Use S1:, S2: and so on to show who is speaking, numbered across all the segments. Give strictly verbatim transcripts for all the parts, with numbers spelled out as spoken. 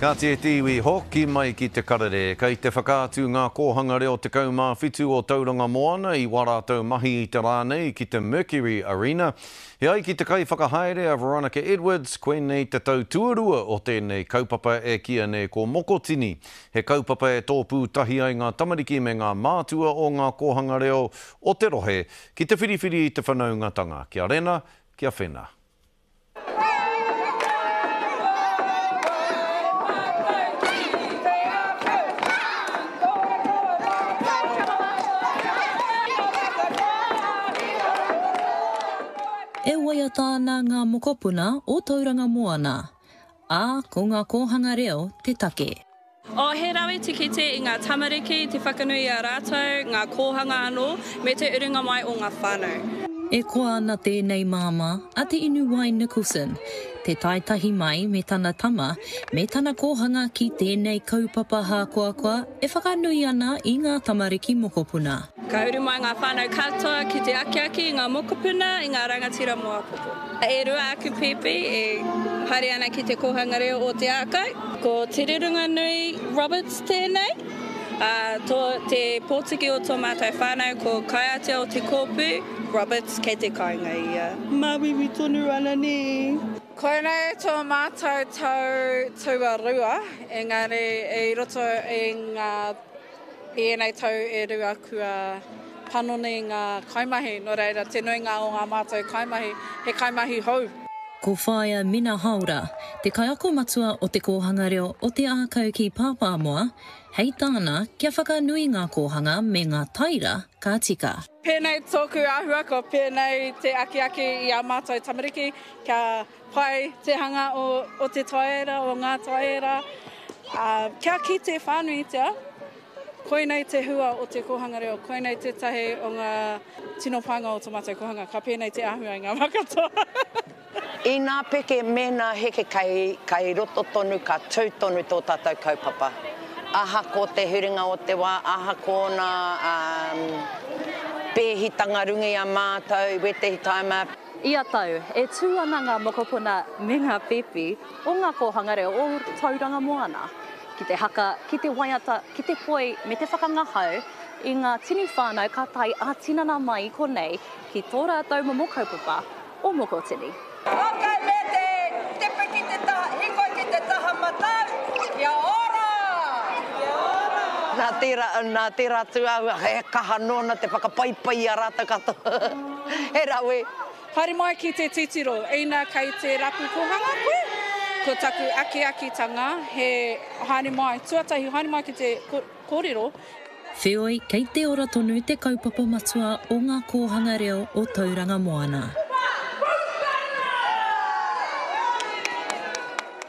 S1: Ka te iwi hoki mai ki te karere, kei te whakaatu ngā kōhanga reo tekau mā whitu o Tauranga Moana i wā rātou mahi i te rā nei ki te Mercury Arena. He ai ki te kaiwhakahaere a Veronica Edwards, koinei te tau tuarua o tēnei kaupapa e kīia nei ko Mokotini. He kaupapa e tōpū tahi ai ngā tamariki me ngā mātua o ngā kōhanga reo o te rohe ki te whiriwhiri i te whanaungatanga. Kia rena, kia whena.
S2: E waiata ana ngā mokopuna o Tauranga Moana, ā, ko ngā kōhanga reo te take.
S3: Oh, he rawe te kite i ngā tamariki, te whakanui i a rātou, ngā kōhanga anō, me te urunga mai o ngā whānau.
S2: E koa ana tēnei māmā a Te Inuwai Nicholson, te taetahi mai me tana tama, me tana kōhanga ki tēnei kaupapa hākoakoa e whakanui ana i ngā tamariki mokopuna.
S3: Ka uru mai ngā whānau katoa ki te akiaki i ngā mokopuna, i ngā rangatira mō āpōpō. E rua aku pēpi e haere ana ki te kōhanga reo o Te Ākau. Ko Te Rurunganui Roberts tēnei, ā, tō, te pōtiki o tō mātou whānau ko Kaiatea o Te Kōpū, Roberts kei te kāinga ia. Māuiui tonu ana nē.
S4: Koinei tō mātou tau tuarua, engari i roto i ngā i ēnei tau e rua kua panoni ngā kaimahi, nō reira te nuinga o ngā mātou kaimahi he kaimahi hou.
S2: Ko Whaea Mina Haora, te kaiako matua o te kōhanga reo o Te Ākau ki Pāpāmoa, hei tāna kia whakanui ngā kōhanga me ngā taira ka tika.
S4: Pēnei tōku āhua, ko pēnei te akiaki i ā mātou tamariki kia pai te hanga o, o te taera, o ngā taera, ā, kia kite whānuitia, koinei te hua o te kōhanga reo, koinei tētahi o ngā tino painga o tō mātou kōhanga, ka pēnei te āhua i ngā wā katoa.
S5: Inā peke mēnā heke kei, kei roto tonu, ka tū tonu tō tātou kaupapa. Ahako te huringa o te wā, ahako nā um, pēhitanga runga i a mātou, i wētehi taima.
S2: Ia tau, e tū ana ngā mokopuna me ngā pēpi o ngā kōhanga reo o Tauranga Moana ki te haka, ki te waiata, ki te poi me te whakangahau i ngā tini whānau ka tae ā-tinana mai i konei ki tō rātou momo kaupapa o Mokotini.
S6: Okay, me te tepe ki te taha, hikoi ki te taha matau, kia ora! Kia ora!
S5: Nā tērā, nā tērā tūāhua, he kaha nōna te whakapaipai i a rātou katoa. He rawe.
S4: Haere mai ki te titiro, ina kei te rapu kōhanga koe, ko taku akiakitanga he haere mai, tuatahi haere mai ki te kōrero.
S2: Wheoi, kei te ora tonu te kaupapa matua o ngā kōhanga reo o Tauranga Moana.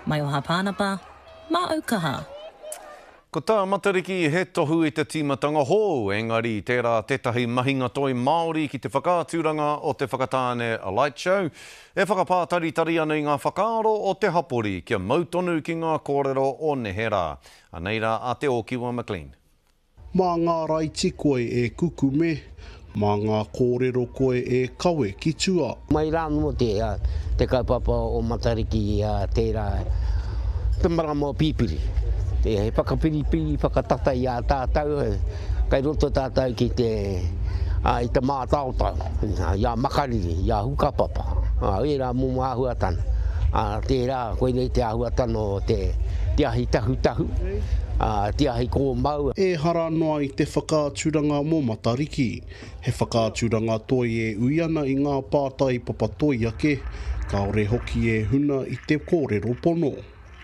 S2: Maioha Pānapa, mā Aukaha.
S1: Ko tā Matariki he tohu i te tīmatanga hou, engari tērā tētahi mahinga toi Māori ki te whakaaturanga o te Whakatāne Light Show, e whakapātaritari ana i ngā whakaaro o te hapori kia mau tonu ki ngā kōrero o neherā. Anei rā a Te Ōkiwa McLean.
S7: Mā ngā raiti koe e kukume, mā ngā kōrero koe e kawe ki tua.
S8: Mai rā anō te, te kaupapa o Matariki tērā te marama o Pipiri. He whakapiripiri, whakatata i a tātou, kei roto tātou ki te, i te mātaotao, i a Makariri, i a Hukapapa, ērā momo āhuatanga. Tērā, koinei te āhuatanga o te, te ahi tahutahu, te ahi kōmau.
S7: Ehara noa i te whakaaturanga mō Matariki. He whakaaturanga toi e ui ana i ngā pātai papatoi ake, kāore hoki e huna i te kōrero pono.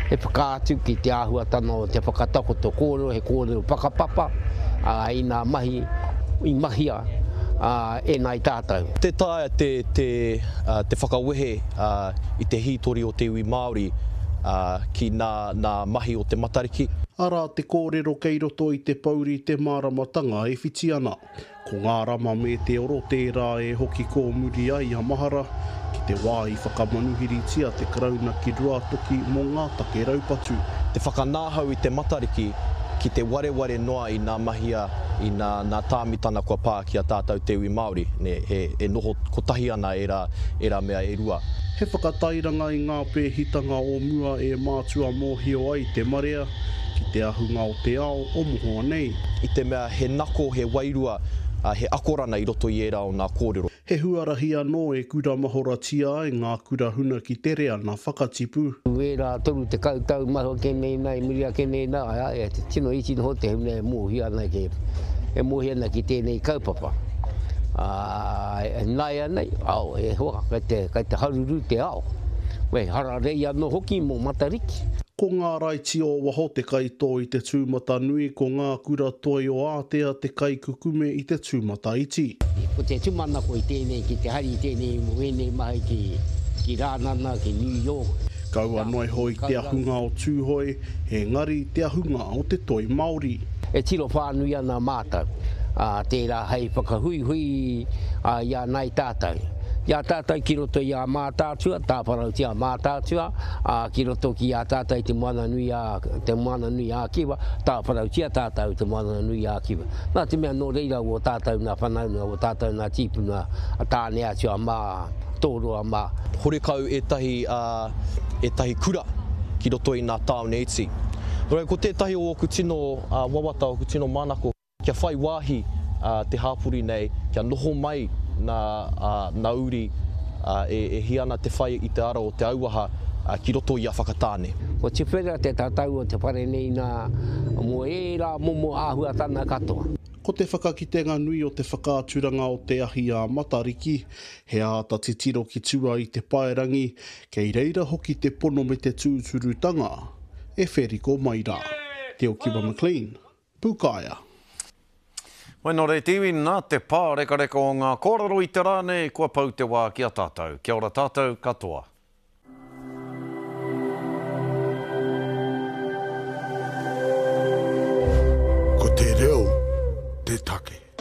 S8: He whakaatu ki te āhuatanga o te whakatakoto kōrero, he kōrero whakapapa, ā, i ngā mahi i mahia e ngāi tātou.
S9: Tē taea te, te, te whakawehe i te hītori o te iwi Māori ki nā, nā mahi o te Matariki.
S7: Arā te kōrero kei roto i te pouri te māramatanga e whiti ana. Ko ngā rama me te oro tērā e hoki kōmuri ai a Mahara ki te wā i whakamanuhiritia te Karauna ki Ruatoki mō ngā take raupatu.
S9: Te whakanāhau i te Matariki ki te wareware noa i nā mahi a, i nā, nā tāmitana kua pā ki a tātou te iwi Māori, nē, he, e noho kotahi ana ērā, ērā mea e rua.
S7: He whakatairanga i ngā pēhitanga o mua e mātua mōhio ai te marea ki te ahunga o te ao o mohoa nei.
S9: I te mea he nako, he wairua, he akorana i roto i ērā o nā kōrero.
S7: He huarahi anō e kuramahoratia ai ngā kura huna ki te reana whakatipu.
S8: Wērā toru tekau tau mahi ake nei nā, i muri ake nei nā, e tino iti noho te huna e mōhio ana ki, e mōhio ana ki tēnei kaupapa. Ā, nāianei, ao, e hoa, kei te, kei te haruru te ao. Wei, hararei anō hoki mō Matariki.
S7: Ko ngā raiti o waho te kaitō i te tūmatanui, ko ngā kura toi o Ātea te kaikukume i te tūmataiti.
S8: Ko te tūmanako i tēnei ki te hari i tēnei mō ēnei mahi ki, ki Rānana, ki New York.
S7: Kaua noa iho i te ahunga o Tūhoe, engari te ahunga o te toi Māori.
S8: E tiro whānui ana mātou, ā, tērā hei whakahuihui i a nāi tātou. I a tātou ki roto i a Mātaatua, tāwharautia Mātaatua, ā, ki roto ki a tātou i te Moana-nui a, te Moana-nui ā-Kiwa, tāwharautia tātou i te Moana-nui ā-Kiwa. Nā te mea nō reira wō tātou nā whanaunga, wō tātou nā tīpuna, a Tāne-atua mā, Tōroa mā.
S9: Horekau ētahi, ā, ētahi kura ki roto i nā tāone iti. Nō reira, ko tētahi o ōku tino, ā, wawata, ōku tino manako, kia whai wāhi te hāpori nei, kia noho mai nā, nā uri e, e hia ana te whai i te ara o te auaha ki roto i a Whakatāne.
S8: Ko Tuwhera te tatau o te whare nei nā, mō ērā momo āhuatana katoa.
S7: Ko te whakakitenga nui o te whakaaturanga o te ahi a Matariki, he āta titiro ki tua i te paerangi, kei reira hoki te pono me te tūturutanga e wheriko mai rā. Te Okiwa McLean, Pūkaea.
S1: Wai nō reira te iwi, nā te pārekareka o ngā kōrero i te rā nei, kua pau te wā ki a tātou. Kia ora tātou katoa.
S10: Ko te reo te take.